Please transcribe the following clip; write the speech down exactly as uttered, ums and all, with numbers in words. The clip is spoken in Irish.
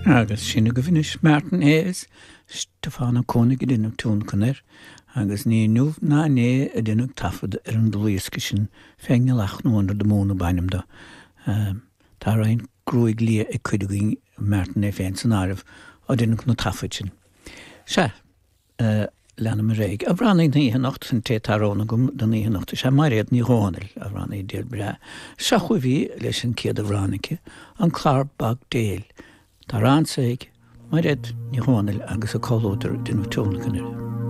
Agus sin agaibh anois Martin Hayes, Stiofán Ó Cónaigh ag déanamh tionlacan air, agus ní inniu ná inné a deineadh taifead ar an dlúthdhiosca sin Fén nGealach nó Under the Moon ab ainm dó. Tá roinnt gruaig liath ag cuid againn, Martin é féin san áireamh, ó deineadh na taifid sin. Sea, leanaim ar aghaidh. Amhránaí na hoíche anocht, an té atá roghnaithe agam don oíche anocht is ea Mairéad Ní Dhomhnaill, amhránaí diail breá. Seo chugaibh í leis an chéad amhrán aici, An Clár Bog Béil. Tá rann ag Mairéad Ní Dhomhnaill agus a comhluadar ag déanamh tionlacan uirthi.